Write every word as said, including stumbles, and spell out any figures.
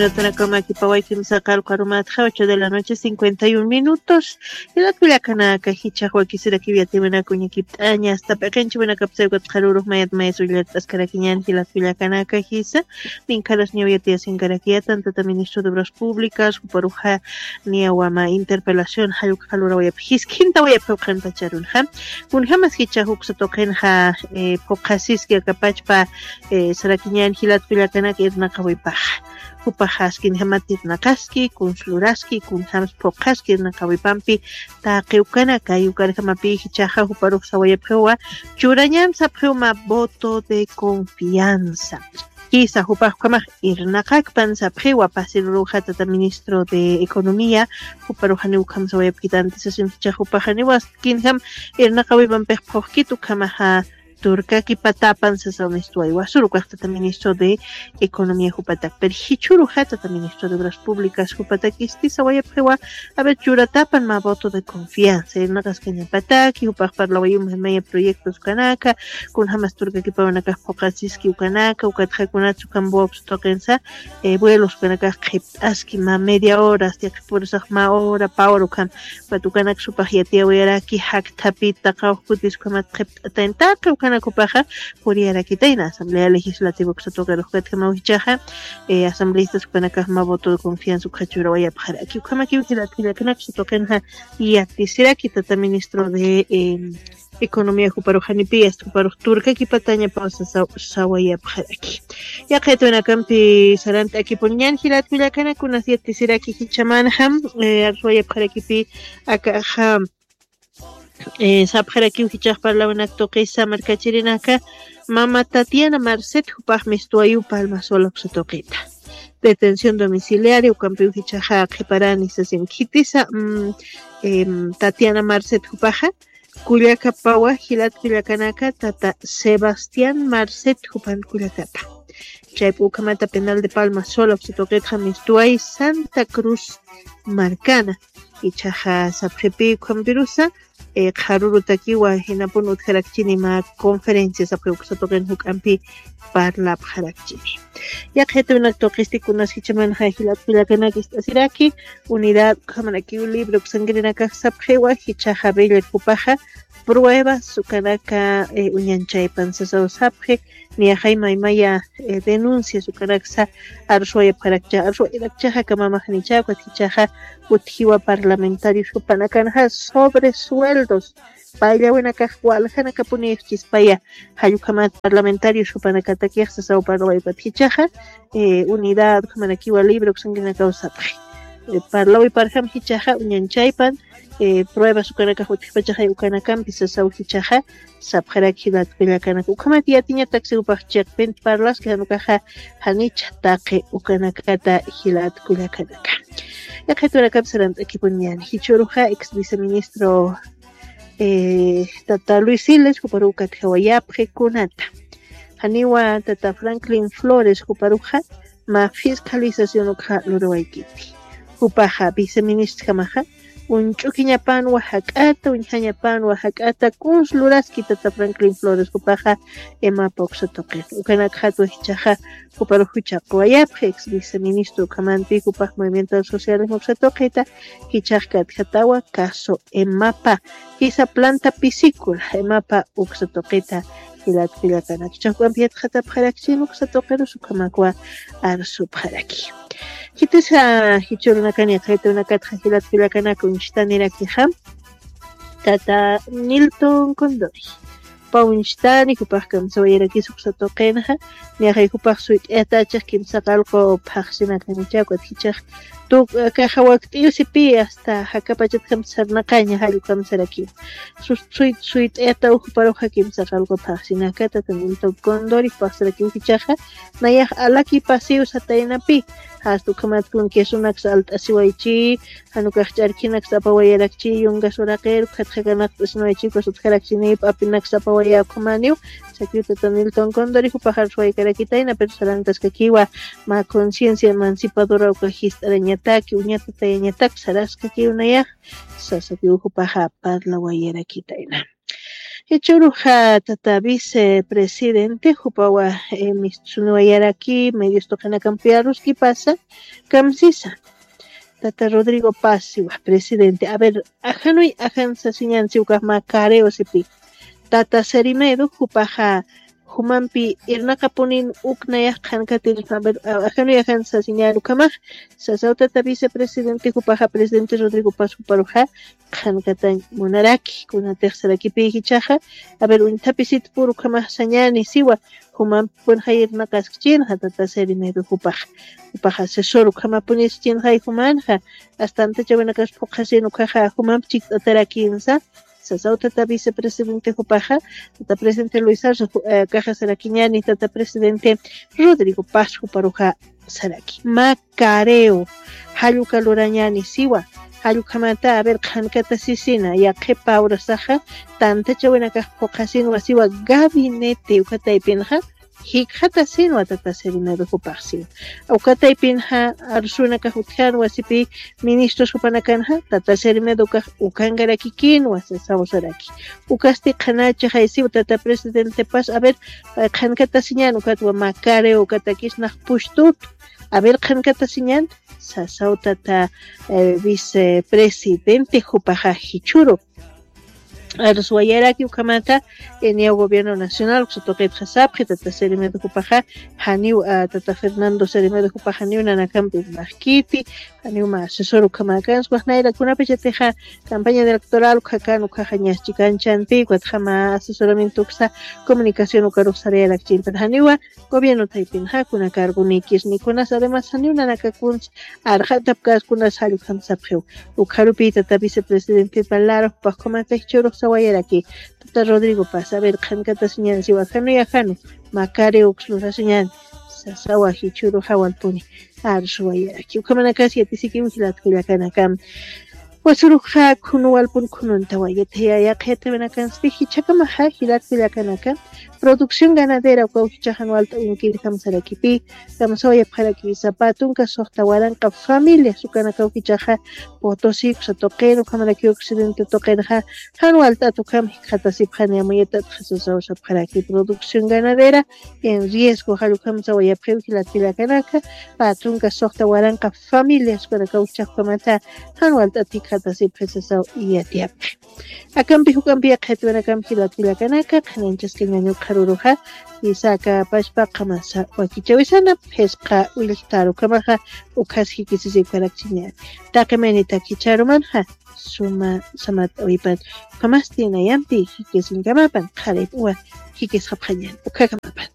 Ratanakama kipaway kimsa qalqa rumatxa, ocho de la noche, cincuenta y un minutos. Jilat kullakanaka, jichhax wakisirakiw yatiwinaka uñakipt'aña, hasta p'iqinchiwinakapsa ukat qharürux mayat mayas ullart'askarakiñan jilat kullakanaka jisa, ninkharas niyaw yatiyasinkarakiya, tantata ministro de Obras Públicas, juparuxa niyawama interpelación, jalluk jalurawayap, jiskinta wayap juqanpacharunxa. Kunjamas jichhax uksa tuqinxa, eh, phuqasiski akapachpa, eh, sarakiñan jilat kullakanaka irnaqawipaxa. Jupaxas kinjamat irnaqaski, kunsluraski, kunjamas phuqaski irnaqawipampi taqi ukanaka, ukanakamapi jichhaxa juparux sawayapxiwa, churañan sapxiw mä voto de confianza. Jisa jupax ukhamax irnaqakpan sapxiwa, pasiruruxa tata ministro de Economía, juparuxani ukham sawayapkit antisasin jichhax jupaxaniwa, kinjam irnaqawipampix phuqkit ukhamaxa, turkakipatapan sasaw mistuwaywa, suru ukax tata ministro de Economía jupatak. Pero jichhüruxa tata ministro de Obras Públicas jupatakisti sawayapxiwa, a ver, churatapan mä voto de confianza, irnaqaskañapataki, jupax parlawayiw maya proyectos ukanaka, kunjamas turkakipawanakax phuqasiski ukanaka, ukatxa kunatsa ukham votos tuqinsa, eh, vuelos ukanakax qhipt'aski mä media hora, hasta qhipurisax mä hora, pä hora ukham, ukat ukanak supax yatiyawayaraki, jakthapita, qawqkutis ukhamat qhipt'atayn, taqi ukanak jupaxa puriyarakitayna Asamblea Legislativa uksa tuqirux. Ukatjamaw jichhaxa, eh, asambleistas ukanakax mä voto de confianza ukxa churawayapxaraki. Ukhamakiw jilat kullakanaka, uksa tuqinxa yatisiraki tata ministro de, eh, Economía juparux janipi, hasta juparux turkakipatañapaw sasaw sawayapxaraki. Yaqha yatiyawinakampi sarant'akipuniñan jilat kullakanaka, kunas yatisiraki jichhamanxa, eh, arsuwayapxarakipi akaxa, eh, sapxarakiw jichhax parlawinak tuqisa markachirinaka, mama Tatiana Marcet jupax mistuwayiw Palma Sola uksa tuqita. Detención domiciliaria ukampiw jichhaxa qhiparani sasin. Khitisa, mm, em, Tatiana Marcet jupaxa, kullakapawa jilat kullakanaka, tata Sebastián Marcet jupan kullakapa. Chaypi ukhamata penal de Palma Sola uksa tuqitxa mistuway Santa Cruz markana. Jichhaxa sapxipi ukhampirusa, eh, qharürutakiwa jinapun utjarakchini mä conferencia sapxi uksa tuqin juk'ampi parlapxarakchini. Yaqha yatiyawinaka tuqisti kunas jichhamanxa jilat kullakanaka ist'asiraki, unidad ukhamarakiw libre uksankirinakax sapxiwa, jichhaxa Bella jupaxa pruebas ukanaka, eh, uñanchaypan sasaw sapxi, niyaxay maymaya, eh, denuncias ukanaksa arsuwayapxarakcha, arsuwayarakchaxa kamamaxnicha, ukat jichhaxa utjiwa parlamentarios jupanakanxa sobre sueldos, payllawinakax waljanakapuniw chispaya, jall ukhamat parlamentarios jupanakatakix sasaw parlawaypat jichhaxa, eh, unidad ukhamarakiwa libre uksankirinakaw sapxi. Eh, parlawiparjam jichhaxa uñanchaypan, eh, pruebas ukanakax utjpachaxay ukanakampi sasaw jichhaxa sapxarak jilat kullakanaka. Ukhamat yatiñatak si jupax chiqpinta parlaski, jan ukaxa janicha taqi ukanakata jilat kullakanaka. Yaqha yatiyawinakap sarant'akipuniñan, jichhüruxa ex viceministro, eh, tata Luis Siles juparuw katjawayapxi kunata. Janiwa tata Franklin Flores juparuxa mä fiscalización ukxa lurawaykiti. Jupaxa viceministrjamaxa, uñch'ukiñapanwa jak'ata, uñjañapanwa jak'ata, kunsluraski tata Franklin Flores jupaxa, EMAPA uksa tuqin. Ukanakxatwa jichhaxa juparux juchhaquwayapxi, ex viceministro ukhamanti jupax movimientos sociales uksa tuqita, jichhax katjatawa caso EMAPA, jisa planta piscícola, EMAPA uksa tuqita, jilat kullakanaka. Jichhax juk'ampi yatxatapxarakchini uksa tuqirus ukhamakwa arsupxaraki. Khitisa jichhürunakan yaqha yatiyawinakatxa jilat kullakanaka uñstanirakixam, tata Nilton Condori. Pä uñstani, jupax kamsawayarakis uksa tuqinxa, niyaxay jupax suyt'ayatachix kimsa qallqu phaxsinakanicha, ukat jichhax tuk, akaxa wakt'iw sipi hasta jakapachatjam sarnaqaña, jall ukham sarakiw. Sus-, suy-, suyt'ayataw juparuxa kimsa qallqu phaxsinaka, tata Nilton Condori jupax sarakiw jichhaxa, nayax alaki pasiw sataynapi, hasta ukhamat kun quesonaksa alt'asiwaychi, jan ukax ch'arkinaksa apawayarakchi, yungas uraqir, ukhatxa kanaqt'asiwaychi, ukas utjarakchini, p'apinaksa apawayä ukhamaniw, sakiw tata Nilton Condori jupax arsuwaykarakitayna, pero sarantaskakiwa mä conciencia emancipadora ukax jist'arañataki, uñatatayañatak saraskakiw nayax, sasakiw jupaxa parlawayarakitayna. Jichhüruxa tata vicepresidente jupawa, eh, mistsuniwayaraki medios tuqinakampi aruskipasa kamsisa. Tata Rodrigo Paz siwa presidente, a ver, ajanuy ajan sasiñan siwkax mä careo sipi. Tata Serimedo jupaxa jumampi irnaqapunin uk nayax qhankatir, a ver, a-, ajanuy ajan sasiñan ukhamax, sasaw tata vicepresidente jupaxa presidente Rodrigo Paz juparuxa qhankatañ munaraki, kunatix sarakipï jichhaxa, a ver, uñthapisit pur ukhamax sañani siwa, jumampi pun jayir naqaskchinxa tata Serimedo jupax, jupax asesor ukhamapunis chinxay jumanxa, astantachawinakas phuqhasin ukhaxa jumampi chikt'atarakinsa, sasaw tata vicepresidente jupaxa, tata presidente Luis Arce, ju-, eh, kaxa sarakiñani tata presidente Rodrigo Paz juparuxa saraki. Mä careo, jalluka lurañani siwa, jallukhamata, a ver, qhankata sisina, yaqhipa urasaxa, tantachawinakax phuqhasinwa siwa, gabinete, uka taypinxa, jikxatasinwa tata Serimedo jupax siwa. Uka taypinxa, arsunakax utjanwa sipi, ministros jupanakanxa, tata Serimedo ukax, ukankarakikinwa, sasaw saraki. Ukasti qhanachaxay siwa, tata presidente Paz, a ver, eh, qhankatasiñan ukatwa mä careo ukatakis nax pustut. A ver, qhankatasiñan, sasaw tata, eh, vicepresidente jupaxa jichhüru. Arsuwayaraki ukhamata, eh, niyaw gobierno nacional, uksa tuqitxa sapxi, tata Serimedo jupaxa, janiw, ah, tata Fernando Serimedo jupaxa, janiw nanakampi irnaqkiti, janiw mä asesor ukhamäkans, waxnayra kunapachatixa campaña electoral ukhakan, ukhaxa ñas chikanchanpi, ukatxa mä asesoramiento uksa comunicación ukarux sarayarakchintan, janiwa, gobierno taypinxa kuna cargonikis ni kunas, además janiw nanakakuns arxatapkas kunas, jallukhamsapxiw. Ukharupï tata vicepresidente Palaro jupax ukhamata jichhürux sawayaraki, tata Rodrigo Paz, a ver, qhankatasiñan siwa, ajanuy ajanu, mä careo uks lurasiñan, sasawa jichhüru jawalpuni arsuwayaraki. Ukhamanakas yatisikiw jilat kullakanaka. Wasuruxa khunu walpun khununtawa, yatiyaya qhiyatawinakanspi jichhakamaxa jilat kullakanaka, producción ganadera ukaw jichhax jan walt'awinkir kamsarakipï, kamsawayapxarakisa pä tunka suxta waranqa familias ukanakaw jichhaxa Potosí uksa tuqin, ukhamaraki occidente tuqinxa, jan walt'at ukham jikxatasipxani, amuyatatxa sasaw sapxaraki producción ganadera en riesgo, jallukhamsawayapxiw jilat kullakanaka, pä tunka suxta waranqa familias ukanakaw jichhax ukhamata, jan walt'at jikxatasipxi sasaw yatiyapxi. Akampi juk'ampi yaqhitwinakam jilat kullakanaka, qhanañchaskañäni ukxaruruxa, jisa aka pachpa qamasa wakichawisana, phisqa willktar ukhamaxa, ukhas jikisisipkarakchiñäni. Taqi maynitak jichhärumanxa, suma samat awipan, ukhamasti nayampi jikisinkamapan, qharip uwa jikisxapxañäni, ukhakamapan.